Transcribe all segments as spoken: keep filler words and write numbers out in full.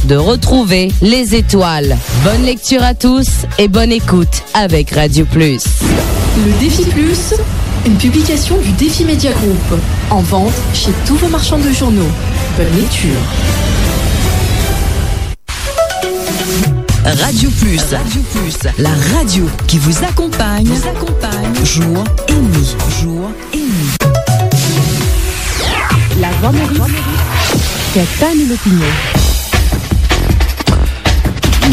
de retrouver les étoiles. Bonne lecture à tous et bonne écoute avec Radio Plus. Le Défi Plus, une publication du Défi Média Group. En vente chez tous vos marchands de journaux. Bonne lecture. Radio Plus, Radio Plus, la radio qui vous accompagne, vous accompagne, jour et nuit, jour et nuit. Lavwa Moris, fè twa nou lopinion.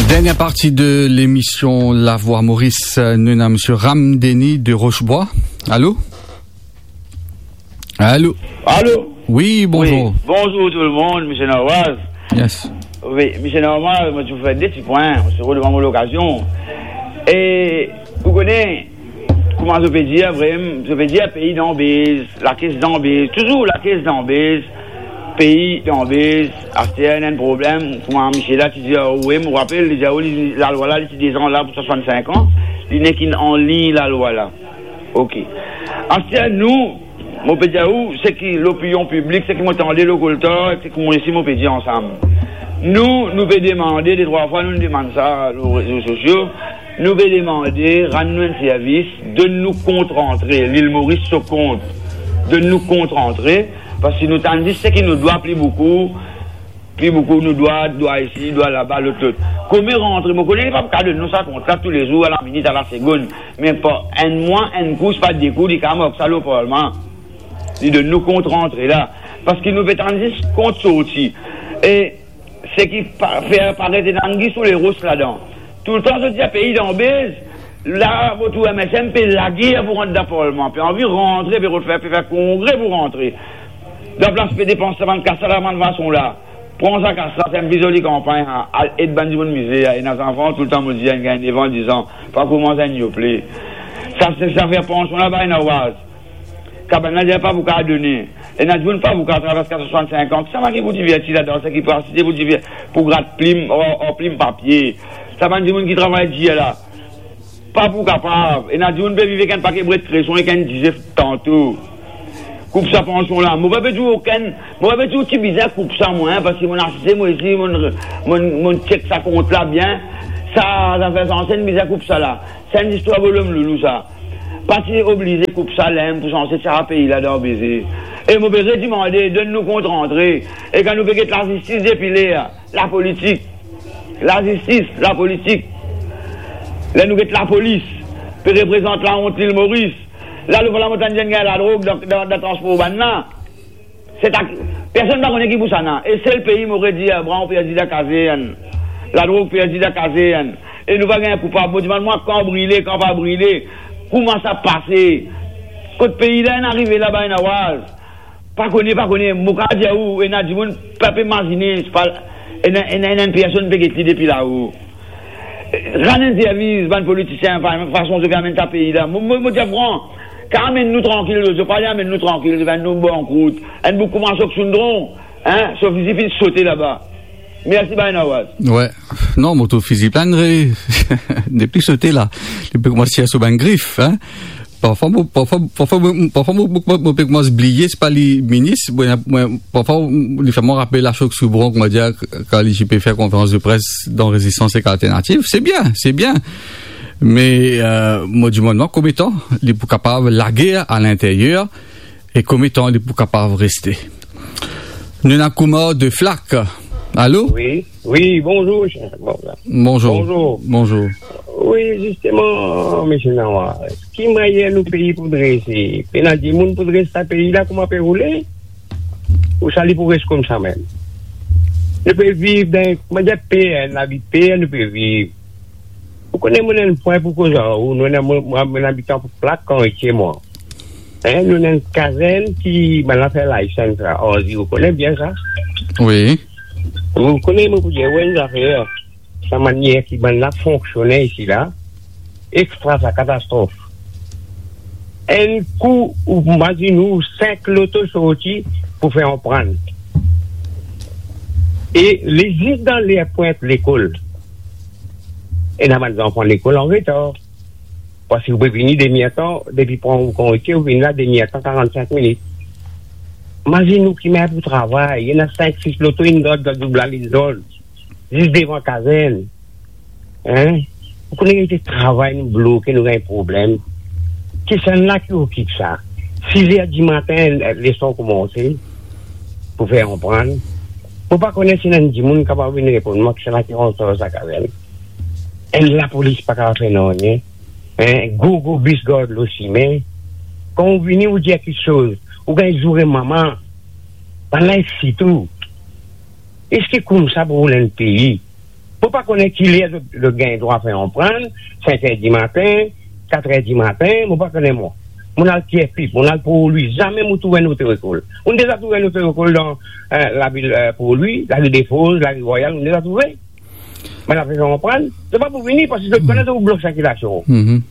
Dernière partie de l'émission Lavwa Moris, nou ena Monsieur Ram Denis de Rochebois. Allô ? Allô ? Allô ? Oui, bonjour. Oui, bonjour tout le monde, Monsieur Nawaz. Yes. Oui, Monsieur Nawaz, mwa, ti pou fer de ti pwin, mo sera devan mo lokazion. E, ou kone, kouma zot pe dir, vremem, zot pe dir, pei dan bez, lakes dan bez, touzour lakes dan bez, pei dan bez, aster ena enn problem, kouma misie la ti dir, wi, mo rapel, li dir, wi, li, lalwa la, li ti deza la pou swasann-sink an, li nek inn anlign lalwa la. Ok. Aster nou, mo pe dir ou, seki lopinion piblik, seki mo tande lor koltar, seki mo isi, mo pe dir ansam. Nou, nou pe demande, de trwa fwa nou demann sa lor rezo sosio, nou pe demande, rann nou enn servis, donn nou kont rantre, Lil Moris so kont, donn nou kont rantre, parski nou tann zis seki nou dwa, pli boukou, pli boukou nou dwa, dwa isi, dwa laba, lot, lot. Kone rantre, mo kone li pa pou kav donn nou sa kont la toulezour, a la minit, a la segonn. Me par enn mwa, enn kou, sipa de kou, li kav mark sa lor parlman. Li donn nou kont rantre la. Parski nou pe tann zis kont sorti. E seki pa, fer paret ena angi sou leros ladan. Toultan zot dir pei dan bez, la, mo trouv M S M pe lager pou rant dan parlman, pe anvi rantre, pe rod fer, pe fer kongre pou rantre. Dan plas pe depans sa bann kas la, bann fason la. Pran sa kas la, fer enn pli zoli kanpagn, al ed bann dimoun mizer, ena zanfan, toultan mo dir, inn gagn nef an, diz an, pa koumans enn yople. Sa, se zafer pansion la, bay Nawaz. Kabann la dir pa pou kav done. Ena dimoun pa pou kav travers kat san swasann-sink an. Sa bann ki pou diverti ladan, sa ki pou asiste pou diver-, pou grat plim, or, or plim papie. Sa bann dimoun ki travay dir la. Pa pou kapav. Ena dimoun pe viv ek enn pake bred kreson ek enn dizef tanto. Koup sa pansion la. Mo pa pe dir okenn, mo pa pe dir ou ti bizin koup sa mwa, parski mo asiste, mo isi, mo, mo, mo check sa kont la bien. Sa, zafer sanse bizin koup sa la. Sa enn zistwar bolom loulou sa. Pa ti oblize koup sa limem pou sanse tir pei la dan beze. E mo pe redimande, donn nou kont rantre. E kan nou pe get lazistis depi ler, lapolitik. Lazistis, lapolitik. Ler nou get lapolis pe reprezant laont Lil Moris. La, nou vwala mo tann dir ena ladrog dan, dan, dan transpor urbann la. Se ta-, personn pa kone ki pou sa la. E sel pei mo pe dir, bran perdi dan kazern. Ladrog perdi dan kazern. E nou pa gagn koupab. Mo dimann mwa, kan brile, kan pa brile. Kouma sa pase? Kot pei la inn arive la, bay Nawaz? Pa kone, pa kone. Mo kav dir ou, ena dimoun pa pe imazine, se pa, ena, ena, ena enn personn pe get li depi lao. Rann enn servis bann politisien, fa-, fason zot pe amenn sa pei la. Mo, mo, mo dir fran, kav amenn nou trankil, zot pa amenn nou trankil, zot amenn nou bankrout. Enn boug kouma Sok Soundron, hein, so fizi finn sote laba. Mersi, bay Nawaz. Wi. Non, mo trouv fizi la inn re-, nepli sote la. Li pe koumans tir so bann grif, hein. Parfwa mo, parfwa, parfwa mo, parfwa mo, mo, mo, mo pe koumans bliye, se pa li minis, mo, mo, parfwa li fer mwa rapel a Sok Soundron, kouma dir, kan li ti pe fer konferans de pres dan Rezistans ek Alternativ. Se bien, se bien. Me, euh, mo dimann mwa, konbien tan li pou kapav lager a linteryer e konbien tan li pou kapav reste? Nou ena Koumar de Flak. Alo? Wi, wi, bonzour, cher. Bon, bonzour. Bonzour. Bonzour. Wi, zisteman, misie Nawaz, ki manier nou pei pou drese? Pena dimoun pou dres sa pei la, kouma pe roule? Ouswa li pou res koumsa mem? Nou pe viv dan, kouma dir, per, lavi per, nou pe viv. Ou kone, mo ena enn pwin pou koz ar ou, nou ena, mo, mo, mo abitan Flak, Kartie mwa. Hein, nou ena enn kazern ki, bann la fer license la, Arzi, ou kone bien sa? Wi. Ou kone, mo pou dir ou enn zafer, sa manier ki bann la fonksione isi la, extra sa, katastrof. Enn kou, ou imazinn ou, sink loto sorti pou fer anprant. E li zis dan ler pwint lekol. Ena bann zanfan lekol an retar. Parski ou pe vini demi-er tan, depi pran ou Kartie, ou vini la demi-er tan, karannsink minit. Imazinn ou ki manier pou travay, ena sink, sis loto, inn gard, gard, doub la, inn gard. zis devan kazern. Hein? Ou kone, nou travay, nou bloke, nou gagn problem. Ki sa la ki okip sa? Siz er dimatin, leson koumanse, pou fer konprann. Mo pa kone si ena dimoun kapav vinn reponn mwa ki sa la ki rant dan sa kazern. Enn lapolis pa kapav fer nanye. Hein? Gro, gro bis gard lor sime. Kan ou vini, ou dir kiksoz, ou gagn zoure mama. Bann la isi tou. Eski koumsa pou roul enn pei? Mo pa kone ki ler zot, zot gagn drwa fer konprann, sink er dimatin, kat er dimatin, mo pa kone mwa. Monn al Tir Pip, monn al Port Louis, zame mo trouv enn otoekol. Monn deza trouv enn otoekol dan, eh, lavil, eh, Port Louis, lari Defoz, lari Rwayal, monn deza trouve. Bann la fer konprann, se pa pou vini, parski zot kone zot pou blok sirkilasion. Mhm.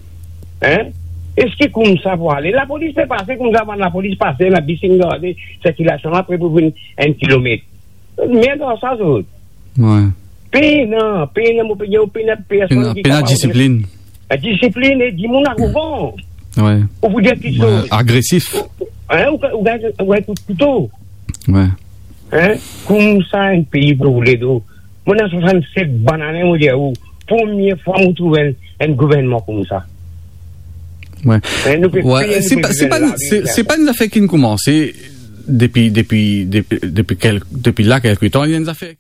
Hein? Eski koumsa pou ale? Lapolis pe pase koumsa, bann lapolis pase, la bis inn garde sirkilasion la, pre pou vinn enn kilomet. Merd ar sa zot. Wi. Pena, pena, mo pe dir ou, pena personn ki kapav disiplin. La disiplin e dimoun arogan. Wi. Ou pou dir kiksoz. Wi, agresif. Hein, ou, ou gagn, ou gagn kout kouto. Wi. Hein? Koumsa enn pei pou roule do. Mo ena swasannset bann ane, mo dir ou, premie fwa mo trouv enn, enn gouvernman koumsa. Wi. Hein, nou pe peye, nou pe viv lavi, se, se pa enn zafer ki koumanse depi, depi, depi, depi kel-, depi la kelke tan, li enn zafer